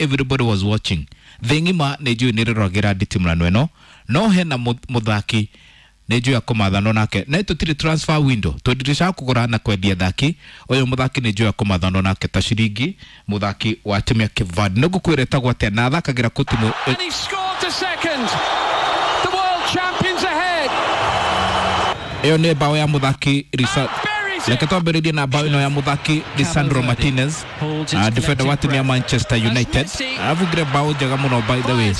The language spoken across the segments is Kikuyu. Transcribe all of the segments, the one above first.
Everybody was watching. Thĩ ng'ima nĩ njũĩ nĩ rĩroragĩra nditimũrano ĩno, no hena mũthaki nĩ njũĩ akũmathanwo nake, na tũtirĩ transfer window, twĩ kũgũra na kwendia athaki. Ũyũ mũthaki nĩ njũĩ akũmathanwo nake ta ciringi, mũthaki wa timu ya Cape Verde. Nĩ ngũkwĩra ĩtagwo atĩa na athakagĩra kũ timu. And he scored the second. The world champions ahead. Ĩyo nĩ bao ya mũthaki Risa. Buries it. Reke twambĩrĩrie na bao ĩno ya mũthaki Lisandro Martinez, defender wa timu ya Manchester United. Arabungire bao njega mũno, by the way,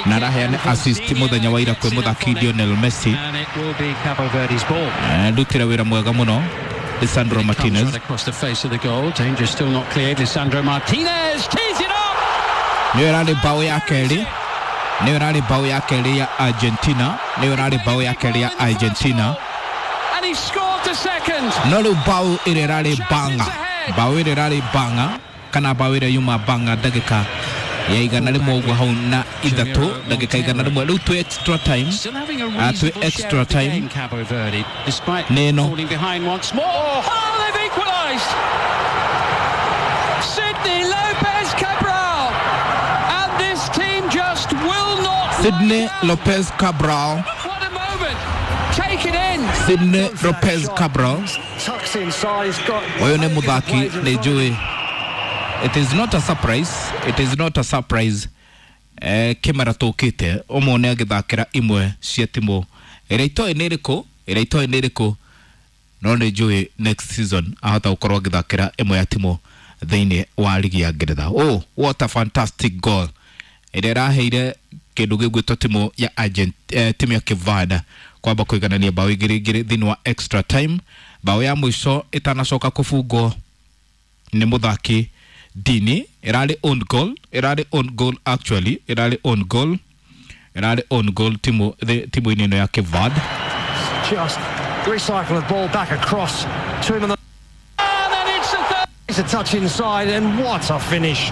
na araheana assist mũthenya wa ira kwĩ mũthaki Lionel Messi. And it will be Cabo Verde's ball. Ndutire wĩra mwega mũno Lisandro Comes Martinez. right across the face of the goal. Danger still not cleared. Lisandro Martinez tees it up. Nĩyo ĩrarĩ bao ya kerĩ, nĩyo ĩrarĩ bao ya kerĩ ya Argentina, nĩyo ĩrarĩ bao ya kerĩ ya Argentina. And he scored the second. No rĩu bao ĩrĩa ĩrarĩ banga, bao ĩrĩa ĩrarĩ banga, kana bao ĩrĩa yuma banga ndagĩka ya 103 ũguo hau na ithatũ, ndagĩka 101 rĩu twĩ extra time. Still having a twĩ reasonable share extra of the time. game, Cabo Verde, despite Neno. falling behind once more. Oh, they've equalised. Sydney Lopez Cabral. And this team just will not Sydney lie down. Lopez Cabral. What a moment. Take it in. Sydney Lopez Cabral. Tucks inside, he's got. Ũyũ nĩ mũthaki nĩ njũĩ, it is not a surprise, it is not a surprise. Kĩmera tũkĩte ũmwe agĩthakĩra imwe cia timũ ĩrĩa itoĩ nĩ ĩrĩkũ, ĩrĩa itoĩ nĩ ĩrĩkũ, no nĩ njũĩ next season ahota gũkorwo agĩthakĩra ĩmwe ya timũ thĩinĩ wa ligi ya Ngeretha. Oh, what a fantastic goal ĩrĩa ĩraheire kĩndũ gĩgwĩtwo timu ya timu ya Cape Verde kwamba kũiganania bao 2-2 thĩinĩ wa extra time, bao ya mũico ĩtanacoka kũbungwo nĩ mũthaki Dini. Ĩrarĩ own goal, ĩrarĩ own goal, actually ĩrarĩ own goal, ĩrarĩ own goal timu timu-inĩ ĩno ya Cape Verde. Just recycle the ball back across to him on the. And then it's the third. It's a touch inside, and what a finish!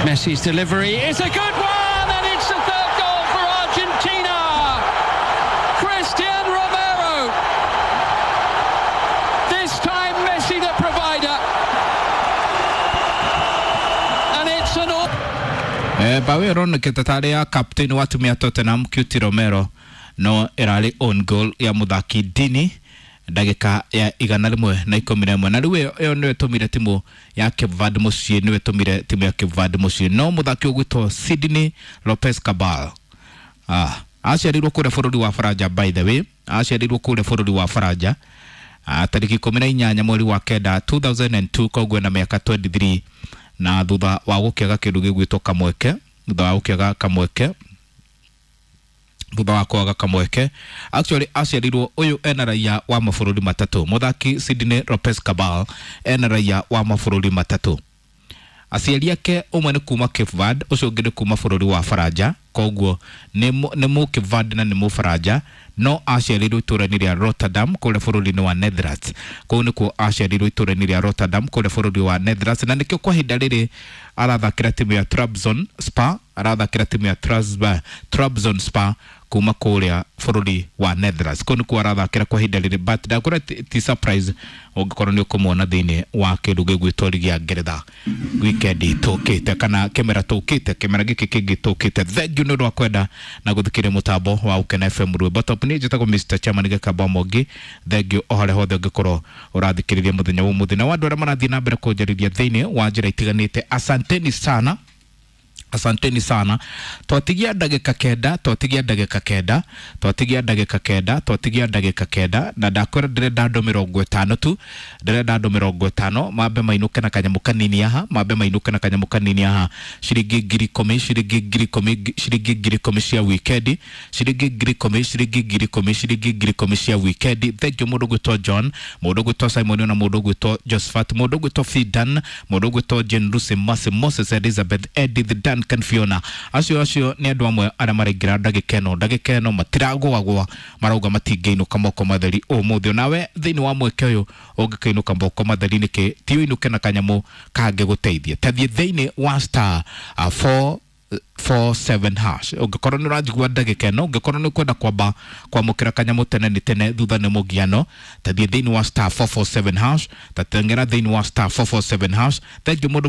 Messi's delivery It's a good one, and it's the third goal for Argentina. Christian Romero. This time Messi the provider. And it's an all. Bao ĩyo ĩronekete tarĩ ya captain wa timu ya Tottenham Cuti Romero, no ĩrarĩ own goal ya mũthaki Dini ndagĩka ya 111, na rĩu ĩyo nĩyo ĩtũmire timu ya Cape Verde mũciĩ, nĩyo ĩtũmire timu ya Cape Verde mũciĩ. No mũthaki ũgwĩtwo Sydney Lopez Cabal, aciarirwo kũrĩa bũrũri wa Faranja, by the way, aciarirwo kũrĩa bũrũri wa Faranja, tarĩki 18 mweri wa kenda 2002, koguo na mĩaka 23, na thutha wa gũkĩaga kĩndũ gĩgwĩtwo kamweke, thutha wa gũkĩaga kamweke, thutha wa kwaga kamweke, actually aciarirwo, ũyũ ena raia wa mabũrũri matatũ. Mũthaki Sydney Lopez Cabal ena raia wa mabũrũri matatũ. Aciari ake ũmwe nĩ kuma Cape Verde, ũcio ũngĩ nĩ kuma bũrũri wa Faranja, koguo nĩ mũ Cape Verde na nĩ mũfaranja, no aciarirwo itũũra-inĩ rĩa Rotterdam kũrĩa bũrũri-inĩ wa Netherlands. Kũu nĩkuo aciarirwo, itũũra-inĩ rĩa Rotterdam kũrĩa bũrũri wa Netherlands, na nĩkĩo kwa ihinda rĩrĩ arathakĩra timu ya Trabzonspor, arathakĩra timu ya Trabzonspor kuma kũrĩa bũrũri wa Netherlands. Kũu nĩkuo arathakĩra kwa ihinda rĩrĩ, but ndakwĩra ti surprise ũngĩkorwo nĩ ũkũmuona thĩinĩ wa kĩndũ gĩgwĩtwo ligi ya Ngeretha weekend tũkĩte, kana kĩmera tũkĩte, kĩmera gĩkĩ kĩngĩ tũkĩte. Thank you nĩ ũndũ wa kwenda na gũthikĩrĩria mũtambo wa Ukena FM rwĩmbo top. Niĩ njĩtagwo Mr Chairman Gĩkamba Mwangi. Thank you o harĩa hothe ũngĩkorwo ũrathikĩrĩria mũthenya wa ũmũthĩ, na wa andũ arĩa marathiĩ na mbere kũnjarĩria thĩinĩ wa njĩra itiganĩte, asanteni sana, asanteni sana. Twatigia ndagĩka 9, twatigia ndagĩka 9, twatigia ndagĩka 9, twatigia ndagĩka 9, na ndakwĩra ndĩrenda andũ 50 tu, ndĩrenda andũ 50 mambe mainũke na kanyamũ kanini haha, mambe mainũke na kanyamũ kanini haha, ciringi 10,000, ciringi 10,000, ciringi 10,000 cia wikendi, ciringi 10,000, ciringi 10,000, ciringi 10,000 cia wikendi. Thank you mũndũ gwĩtwo John, mũndũ gwĩtwo Simon, na mũndũ gwĩtwo Josephat, mũndũ gwĩtwo Fidan, mũndũ gwĩtwo Jane Lucy, Mercy, Moses, Elizabeth, Edith, Duncan, Fiona. Acio nĩ andũ amwe arĩa maraingĩra ndagĩka ĩno, ndagĩka ĩno matiragũagũa, marauga matingĩinũka moko matheri ũmũthĩ. Nawe thĩinĩ wa mweke ũyũ ũngĩkainũka moko matheri nĩkĩ ti ũinũke na kanyamũ kangĩgũteithia? Tathiĩ thĩinĩ wa star 4 47 hash. Ũngĩkorwo nĩ ũranjigua ndagĩka ĩno, ũngĩkorwo nĩ ũkwenda kwamba kwamũkĩra kanyamũ tene nĩ tene thutha nĩ mũgiano, tathiĩ thĩinĩ wa star 447 hash, tateng'era thĩinĩ wa star 447 hash. Thengiũ mũndũ.